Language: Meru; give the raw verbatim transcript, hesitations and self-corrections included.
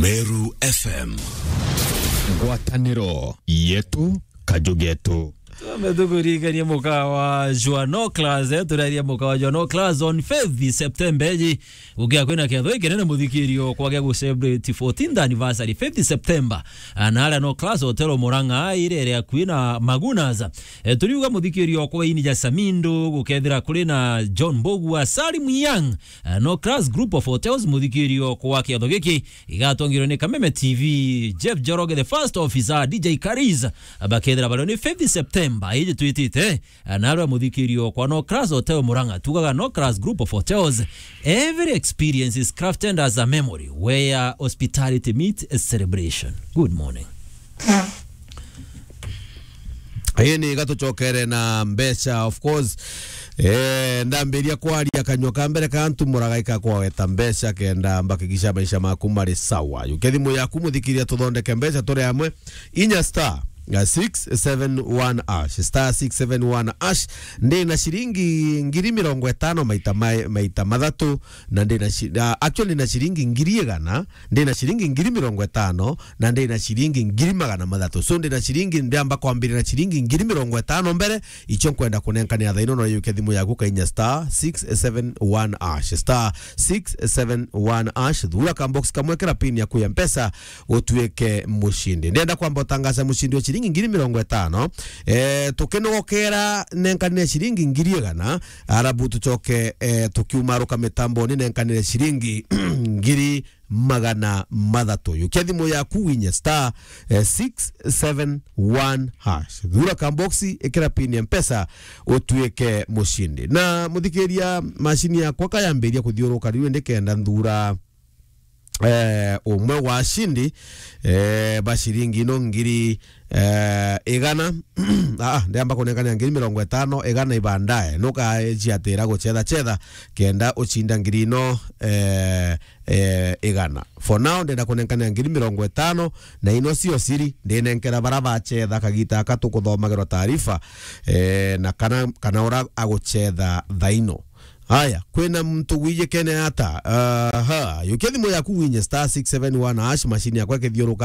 Meru F M. Ngwataniro yetu, kaju getu. Tumetukuririkania mukawa jwa No Class, eh, turaria mukawa jwa No Class on fifth September eji. Gukia kwina kiatho gikinene muthikirio kwa gia gu celebrate fourteenth anniversary, fifth September. Ah, na aria No Class Hotel Murang'a, ire iri akui na Magunas. Eh, turiuga muthikirio kwa ini ja Samindo, gukethira kuri na John Mbogua, Salim Young, eh, No Class Group of Hotels, muthikirio kwa kiatho giki igatongirwe ni Kameme T V, Jeff Njoroge, the first officer, D J Kariz, bakethira bario ni fifth September, iji twitite, eh, narua muthikirio kwa No Class Hotel Murang'a. Tugaga No Class Group of Hotels, every experience is crafted as a memory where hospitality meets a celebration. Good morning. Ii ni gatucokere na mbeca, of course. Eh, ndambiria kwaria kanyua ka mbere ka ntumuraga ikakwaweta mbeca kenda mbakigisha maisha maku mari sawa. Yuke thimu yaku muthikiria tuthondeke mbeca turi amwe. Inya star, uh, six seven one hash, star six seven one hash. Ndi na ciringi ngiri mirongo itano maita ma-, maita mathatu, na ndi na ci-, uh, actually ndi na ciringi ngiri igana, ndi na ciringi ngiri mirongo itano, na ndi na ciringi ngiri magana mathatu. So, ndi na ciringi, ndiamba kwambiria na ciringi ngiri mirongo itano mbere, icio nkwenda kunenkanira thaa ino, no yuke thimu yaku kainya star six seven one hash, star six seven one hash, thura ka box kamwe, kira pin yaku ya Mpesa, utuike mucindi. Ndienda kwamba utangaza mucindi wa ciringi ngiri mirongo itano, eh, tukinogokera nenkanire ciringi ngiri igana, arabu tucoke, eh, tukiumaruka mitamboni nenkanire ciringi ngiri magana mathatu. Yukia thimu yaku winye star, eh, six seven one hash. Thura ka box, ikira pin ya Mpesa, utuike mucindi. Na muthikiria, macini yakwa kayambiria kuthiuruka riu, ndikenda nthura, eh, umwe wa cindi, eh, ba ciringi ino ngiri, eh, igana. Ah, ndiamba kunengania ngiri mirongo itano, igana ibandae. Nukaciatira gucetha cetha, kenda ucinda ngiri ino, eh, eh, igana. For now, ndenda kunenkania ngiri mirongo itano, na ino cio ciri, ndinenkera bara bacetha kagita aka tukuthomagirwa taarifa, eh, na kana, kana ura agucetha thaino. Haya, kwina muntu wijikene ata? Aha, yukia thimu yaku winye star six seven one hash, machine yakwa ikithiuruka.